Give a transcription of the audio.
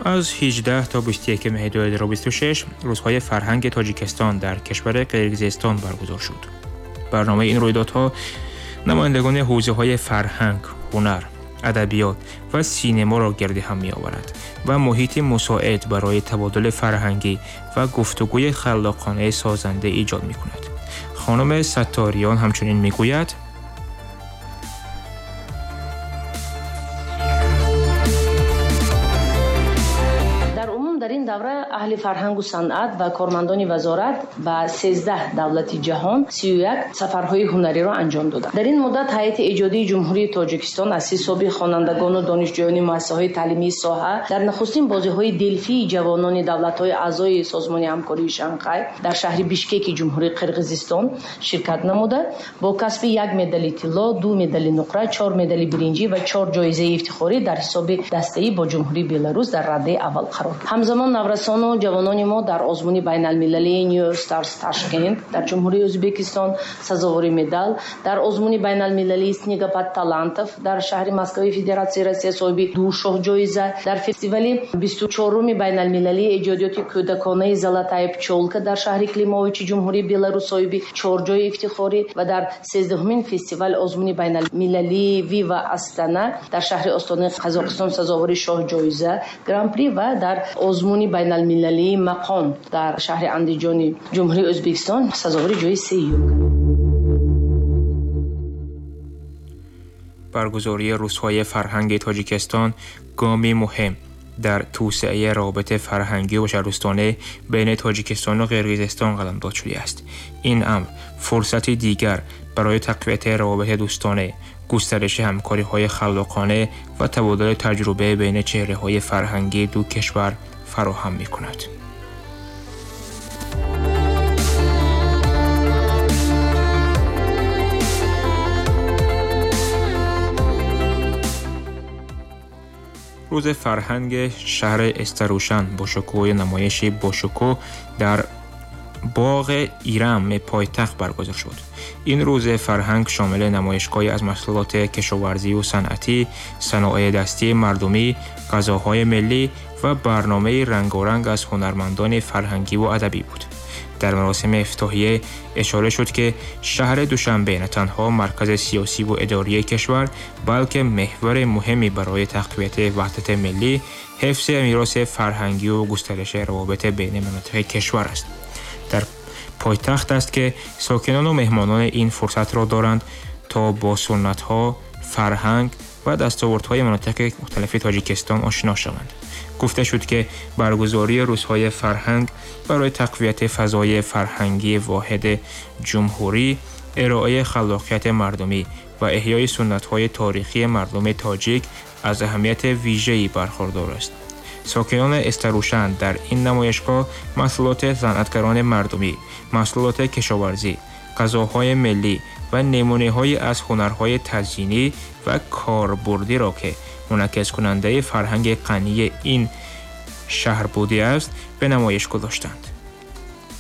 Аз 18 то 21 меҳри 2026 рӯзҳои фарҳанги Тоҷикистон дар кишвари Қирғизистон баргузор шуд. Барномаи ин рӯйдодҳо намояндагони ҳавзаҳои фарҳанг, ҳунар, адабиёт ва синемаро гирди ҳам меоварад ва муҳити мусоид барои табодули фарҳангӣ ва гуфтугӯи халлоқонаи созанда эҷод мекунад. Хонум Сатториён ҳамчунин мегӯяд: дар ин давра аҳли фарҳангу санъат ва кормандони вазорат ба 13 давлати ҷаҳон 31 сафарҳои ҳунариро анҷом доданд. Дар ин муддат ҳайати эҷодии Ҷумҳурии Тоҷикистон аз ҳисоби хонандагону донишҷӯёни муассисаҳои таълимии соҳа дар нахустин бозиҳои Делфии ҷавонони давлатҳои аъзои Созмони ҳамкории Шанхай дар шаҳри Бишкеки Ҷумҳурии Қирғизистон ширкат намуда, бо касби як медали тилло, ду медали нуқра, чор медали биринҷӣ ва чор ҷоизаи ифтихорӣ дар ҳисоби дастаӣ бо Ҷумҳурии Беларус дар раддаи аввал қарор гирифт. Ҳамзамон наврасону ҷавонони мо дар озмуни байналмилалии New Stars Ташкент дар Ҷумҳурии Ӯзбекистон сазовори медал, дар озмуни байналмилалии Снегопад талантов дар шаҳри Москваи Федератсияи Россия соҳиби ду шоҳҷоиза, дар фестивали 24-уми байналмилалии эҷодиёти кӯдаконаи Золотая пчёлка дар шаҳри Климовичи Ҷумҳурии Беларус соҳиби чор ҷои ифтихорӣ ва дар 13-умин фестивал озмуни байналмилалии Вива Астана дар шаҳри Остонаи Қазоқистон сазовори шоҳҷоиза Гран-при ва дар озмуни байналмилалии мақом дар шаҳри Андиҷони Ҷумҳурии Ӯзбекистон сазовори ҷои сеюм. Баргузории рӯзҳои фарҳанги Тоҷикистон гоми муҳим дар توسعه روابط فرهنگی و بشردوستانه بین تاجیکستان و قرقیزستان قلمداد شده است. این امر فرصتی دیگر برای تقویت روابط دوستانه، گسترش همکاری‌های خلاقانه و تبادل تجربه بین چهره‌های فرهنگی دو کشور فراهم می‌کند. روز فرهنگ شهر استروشن با شکوه نمایشی با شکوه در باغ ایرم پایتخت برگزار شد. این روز فرهنگ شامل نمایشگاهی از محصولات کشاورزی و صنعتی، صنایع دستی مردمی، غذاهای ملی و برنامه رنگارنگ از هنرمندان فرهنگی و ادبی بود. در مراسم افتتاحیه اشاره شد که شهر دوشنبه نه تنها مرکز سیاسی و اداری کشور، بلکه محور مهمی برای تقویت وحدت ملی، حفظ میراث فرهنگی و گسترش روابط بین مناطق کشور است. در پایتخت است که ساکنان و مهمانان این فرصت را دارند تا با سنت‌ها، فرهنگ و دستاوردهای مناطق مختلف تاجیکستان آشنا شوند. گفته شد که برگزاری روزهای فرهنگ برای تقویت فضای فرهنگی واحد جمهوری، ارائه خلاقیت مردمی و احیای سنت‌های تاریخی مردم تاجیک از اهمیت ویژه‌ای برخوردار است. ساکنان استروشن در این نمایشگاه محصولات صنعتگران مردمی، محصولات کشاورزی، غذاهای ملی و نمونه‌هایی از هنرهای تزیینی و کاربردی را که منعکس کننده فرهنگ غنی این شهر بوده است به نمایش گذاشتند.